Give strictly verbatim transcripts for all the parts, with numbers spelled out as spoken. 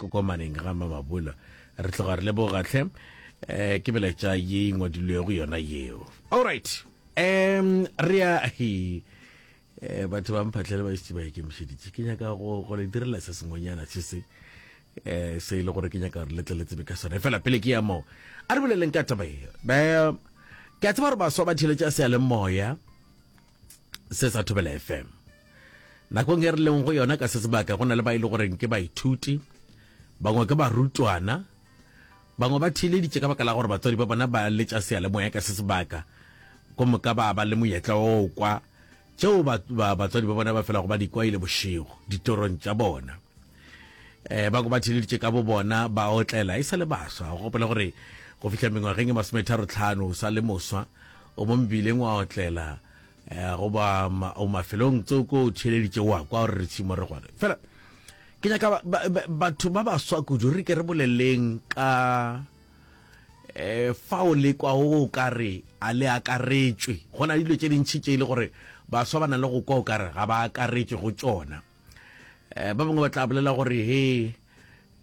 Kokomaneng ga Mamabula. Re tloga re leboga hle. Eh, ke melaetša ye e ngwadilwego yona yeo. Alright. Um re ya he eh, batho ba mphatlhele ba šetše ba ikemišeditše. Ke nyaka go go le direla se sengwenyana se se eh se e le gore ke nyaka gore le tle le tsebe ka sone. Fela pele ke ya moo, a re boleleng ka taba ye. Ba ke a tseba gore baswa ba theeletša seyalemoya se sa Thobela F M. Nakong e re leng go yona ka se sebaka, go na le ba e le goreng ke baithuti, bangwe ke barutwana, bangwe ba theeleditše ka baka la gore batswadi ba bona ba letša seyalemoya ka se sebaka, ko moka ba ba le monyetla wa go kwa tšeo ba, ba, batswadi ba bona ba felago ba di kwa ile bošego ditorong tša bona. Eh, bangwe ba theeleditše ka bo bona ba otlela e sa le baswa. Go gopola gore go fihla mengwageng e masometharo tlhano o sa le moswa, o mo mebileng wa otlela, eh, goba ma, o mafelong tsoko o theeleditše wa kwa gore re tšhimo re gona. Fela ke nyaka ba, ba, ba, batho ba baswa kudu re ke re boleleng ka eh, fao le kwa o ka re a le akaretšwe. Go na le dilo tše dintši tše e le gore baswa ba na le go kwa o ka re ga ba akaretšwe go tšona. Eh, ba bangwe ba tla bolela gore he,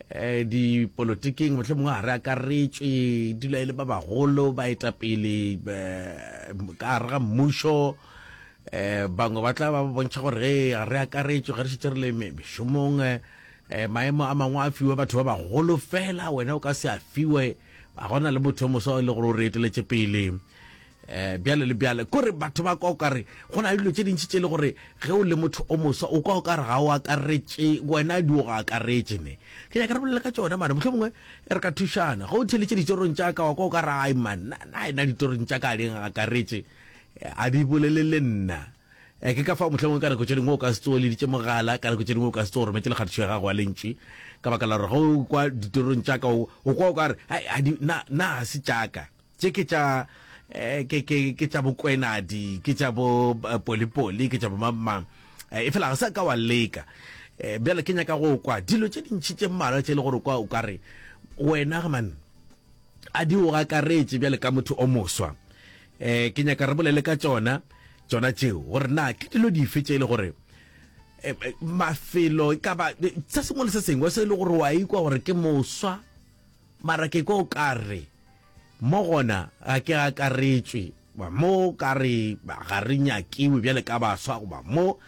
eh, dipolotiking mohlomongwe ga re akaretšwe, dula e le ba bagolo baetapele, eh, ka gare ga mmušo. Eh, bangwe ba tla ba bontšha gore he ga re akaretšwe ge re šetše re le mešomong, eh, maemo a mangwe a fiwe batho ba bagolo fela, wena o ka se a fiwe, ga gona le motho o moswa e le gore o re eteletše pele. Eh, bjale le bjale kore batho ba kwa o kare go na le dilo tše dintši tše le gore ge o le motho o moswa o kwa o kare ga o akaretše, wena di o go akaretše ne. Ke nyaka re bolele ka tšona mane, mohlomongwe re ka thušana. Ge o theeletše ditorong tša ka wa kwa o kare ai man, na, na ena ditorong tša ka a di akaretše, a di bolele le nna. Eh, ke ka fao mohlomongwe ka nako tše dingwe o ka se tsoge leditše mogala, ka nako tše dingwe o ka se tsoge rometše lekgatišo ya gago ya lentši, ka baka la gore ge o kwa ditorong tša ka o, o kwa o kare ai, a di, na, na ga se tša ka, tše ke tša, eh, ke, ke, ke tša bokwenadi, ke tša bo, eh, polipoli, ke tša bo mang mang. Eh, e fela ga sa ka wa leka. Eh, bjale ke nyaka go kwa dilo tše dintši tše mmalwa tše le gore kwa o ka re wena man a di o akaretše bjale ka motho o moswa. Eh, ke nyaka re bolele ka tšona tšona tšeo gore na ke dilo dife tše e le gore, eh, eh, mafelo e ka ba se sengwe le se sengwe se e le gore wa ikwa gore ke moswa, mara ke kwa o ka re mo gona ga ke akaretšwe, ba mo ka re ga re nyakiwe bjale ka baswa, goba mo,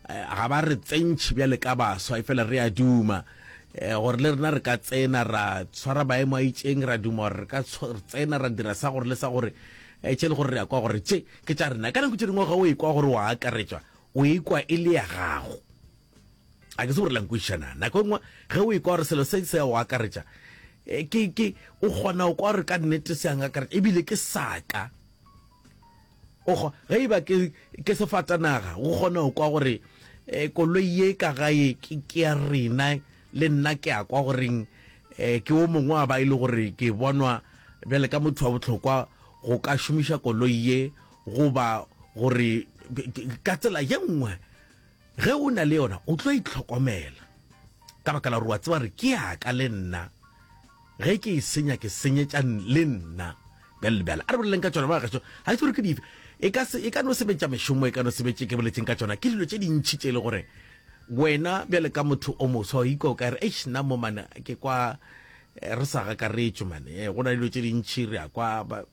eh, ga ba re tsentšhe bjale ka baswa, e fela re a duma, eh, gore le rena re ka tsena ra tshwara maemo a itšeng, ra duma gore re ka tshwa-, tsena ra dira sa gore le sa gore, eh, tše le gore re ya kwa gore tše ke tša rena. Ka nako tše dingwe ga o ekwa gore wa akaretšwa, o ekwa e le ya gago. A ke se gore la nkwešišana. Nako e nngwe ge o ekwa gore selo se se a o akaretša, eh, ke, ke, o kgona go kwa gore ka nnete se a nkakaretša, ebile ke saka. O kgo-, ge e ba ke, ke sefatanaga, o kgona go kwa gore, eh, koloi ye ka gae ke, ke ya rena, le nna ke a kwa goreng, eh, ke o mongwe wa ba e le gore ke bonwa bjale ka motho wa bohlokwa go ka šomiša koloi ye, goba gore ka tsela ye nngwe ge o na le yona o tlo itlhokomela ka baka la gore wa tseba gore ke ya ka le nna, ge ke e senya ke senyetša le nna bjale le bjale. A re boleleng ka tšona ba gešo, ga ke tsebe gore ke dife, e ka se, e ka no se be tša mešomo, e ka no se be tše ke boletseng ka tšona, ke dilo tše dintši tše e le gore wena bjale ka motho o moswa o ikwa o ka re eish nna mo mane ke kwa, eh, re sa gakaretšwe mane, eh, go na le dilo tše dintši re a kwa ba,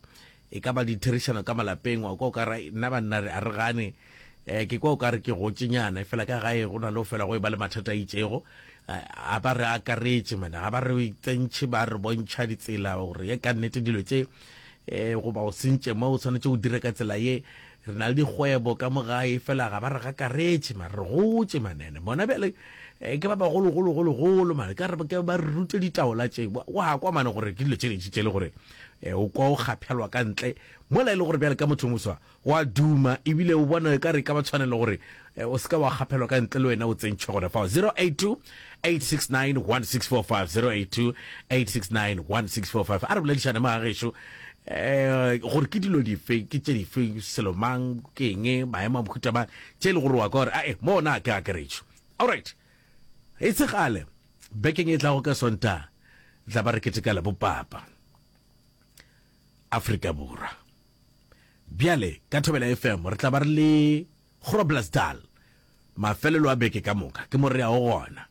e ka ba ditherišano ka malapeng, wa kwa o ka re nna banna re a re gane, eh, ke kwa o ka re ke gotšenyana, fela ka gae go na le go fela go e ba le mathata a itšego, eh, a ba re akaretše mane, ga ba re tsentšhe, ba re bontšha ditsela gore ye ka nnete dilo tše, eh, goba o sentše mo o swanetše o dire ka tsela ye. Re na le dikgwebo ka mo gae, fela ga ba re gakaretše mare, re gotše manene bona bjale, eh, ke ba bagologologologolo mane, ka re ke ba re rute ditaola tše, wa, wa kwa mane gore ke dilo tše dintši tše le gore, eh, o kwa o kgaphelwa ka ntle mola e le gore bjale ka motho moswa wa duma, ebile o bona e ka re ka ba tshwanelo gore, eh, o se ka wa kgaphelwa ka ntle le wena o tsentšhwe gona fao. Zero eight two, eight six nine, one six four five, zero eight two, eight six nine, one six four five. A re boledišane mo ga gešo, eh, gore ke dilo dife, ke tše dife, selo mang, ke eng, maemo a mohuta mang, tše e le gore wa kwa gore, ae, mo ona ke akaretšo. Alright, e se kgale bekeng e tlago ka Sontaga tla ba re keteka le bopapa Afrika Borwa. Bjale ka Thobela F M re tla ba re le Groblersdal mafelelo a beke ka moka, ke mo re yago gona.